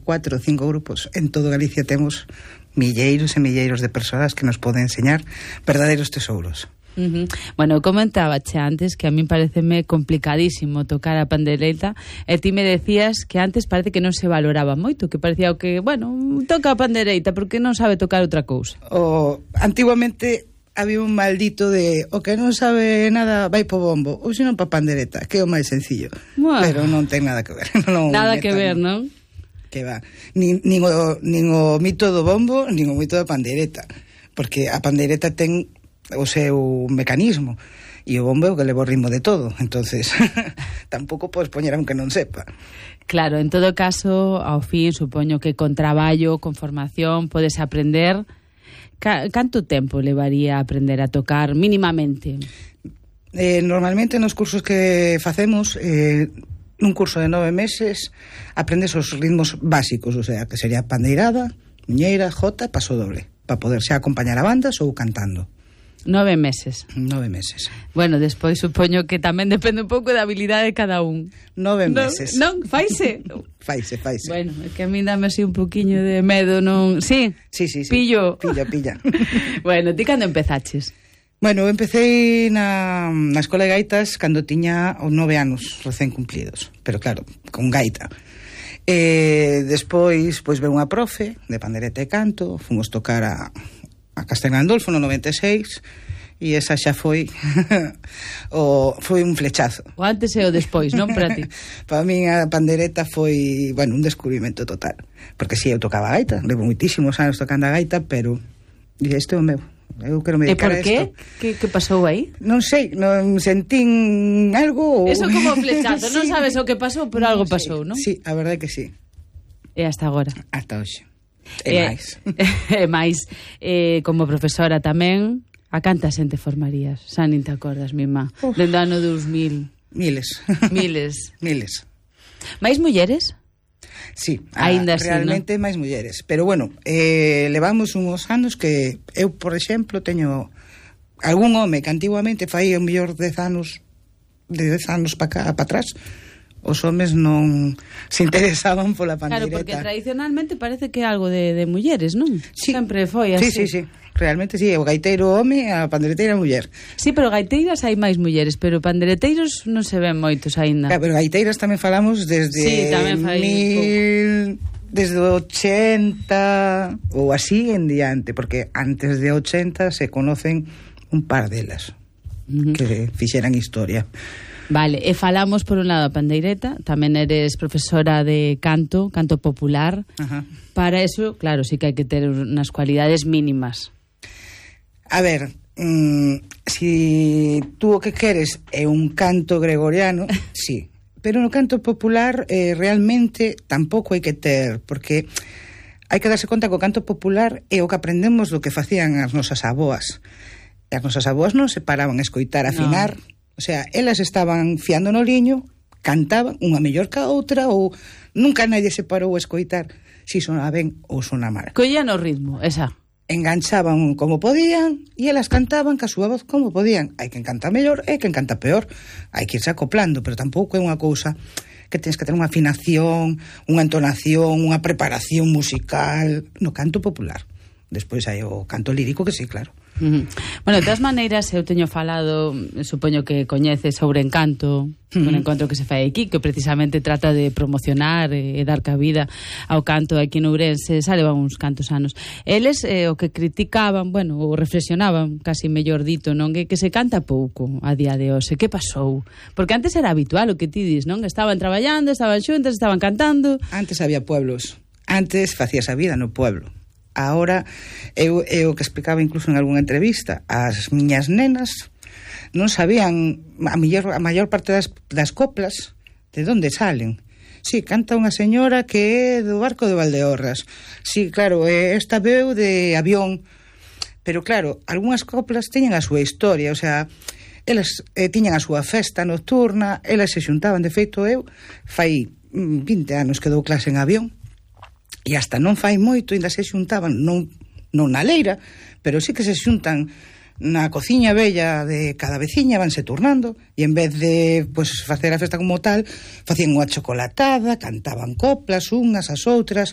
4 ou 5 grupos. En todo Galicia temos milleiros e milleiros de persoas que nos poden enseñar verdadeiros tesouros. Bueno, comentábache antes que a min pareceme complicadísimo tocar a pandereta, e ti me decías que antes parece que non se valoraba moito, que parecía que, bueno, toca a pandereita porque non sabe tocar outra cousa. Antiguamente había un maldito de o que non sabe nada vai po bombo, ou senón pa pandereta, que é o máis sencillo. Pero non ten nada que ver. Nada que ver, non? Que va. Nin o mito do bombo, nin o mito da pandereta, porque a pandereta ten o seu mecanismo e o bombo é o que leva o ritmo de todo, entonces tampouco podes poñer aunque non sepa. Claro, en todo caso, ao fin, supoño que con traballo, con formación, podes aprender. Canto tempo levaría a aprender a tocar mínimamente? Normalmente nos cursos que facemos, nun curso de 9 meses aprendes os ritmos básicos, o sea, que sería pandeirada, muñeira, jota, paso doble, para poder xa acompañar a bandas ou cantando. 9 meses. 9 meses. Bueno, despois supoño que tamén depende un pouco da habilidade de cada un. 9 meses. Non, faise. Faise. Bueno, é que a mí dame así un poquinho de medo, non... Sí? Sí. Pillo. Pilla. Bueno, ti cando empezaches? Bueno, empecé na escola de gaitas cando tiña 9 anos recén cumplidos, pero claro, con gaita. Despois, pois, veu unha profe de pandereta e canto, fomos tocar a Castel Gandolfo no 96 e esa xa foi foi un flechazo. O antes e o despois, non para ti? Para min a pandereta foi, bueno, un descubrimento total, porque si eu tocaba a gaita, levo moitísimos anos tocando a gaita, pero este é o meu. Eu quero me dedicar a isto. E por qué? Que pasou aí? Non sei, non sentín algo. Eso como flechazo, non sabes o que pasou, pero algo pasou, non? Sí, a verdade que sí. E hasta agora? Hasta hoxe. E máis, como profesora tamén, a canta xente formarías? Xa nin te acordas, mima. Dende ano 2000. Miles. Mais mulleres? Sí, ainda realmente así, ¿no? máis mulleres. Pero bueno, levamos uns anos que eu, por exemplo, teño algún home que antiguamente fai o mellor 10 anos para atrás. Os homes non se interesaban pola pandeireta. Claro, porque tradicionalmente parece que é algo de mulleres, non? Sí. Sempre foi así. Sí. Realmente sí, o gaiteiro home, a pandereteira muller. Sí, pero gaiteiras hai máis mulleres, pero pandereteiros non se ven moitos aínda. Claro, pero gaiteiras tamén falamos desde desde 80 ou así en diante, porque antes de 80 se conocen un par delas que fixeran historia. Vale, e falamos por un lado a pandeireta, tamén eres profesora de canto popular. Ajá. Para eso, claro, sí que hai que ter unas cualidades mínimas. A ver, si tú o que queres é un canto gregoriano, sí, pero no canto popular realmente tampouco hai que ter, porque hai que darse conta que o canto popular é o que aprendemos do que facían as nosas aboas. E as nosas aboas non se paraban a escoitar, a afinar. No. O sea, elas estaban fiando no liño, cantaban unha mellor que a outra, ou nunca nadie se parou a escoitar si sonaba ben ou sonaba mal. Collían o ritmo, esa. Enganchaban como podían e elas cantaban ca súa voz como podían. Hai quen canta mellor e quen canta peor. Hai que irse acoplando, pero tampouco é unha cousa que tens que ter unha afinación, unha entonación, unha preparación musical no canto popular. Despois hai o canto lírico que sí, claro. Bueno, de todas maneiras, eu teño falado, supoño que coñeces sobre Encanto, un encontro que se fai aquí, que precisamente trata de promocionar e dar cabida ao canto aquí en Ourense, xa levan uns cantos anos. Eles o que criticaban, bueno, ou reflexionaban, casi mellor dito, non, que se canta pouco a día de hoxe. Que pasou? Porque antes era habitual o que ti dis, non? Estaban traballando, estaban xuntas, estaban cantando. Antes había pueblos. Antes facías a vida no pueblo. Ahora, eu que explicaba incluso en algunha entrevista, as miñas nenas non sabían a maior parte das coplas de onde salen. Sí, canta unha señora que é do barco de Valdeorras. Sí, claro, esta veu de Avión. Pero claro, algunhas coplas teñen a súa historia, o sea, elas tiñan a súa festa nocturna, elas se xuntaban. De feito, eu fai 20 anos que dou clase en Avión, e hasta non fai moito, ainda se xuntaban, non na leira, pero sí que se xuntan na cociña bella de cada veciña, vanse turnando, e en vez de facer a festa como tal, facían unha chocolatada, cantaban coplas unhas as outras,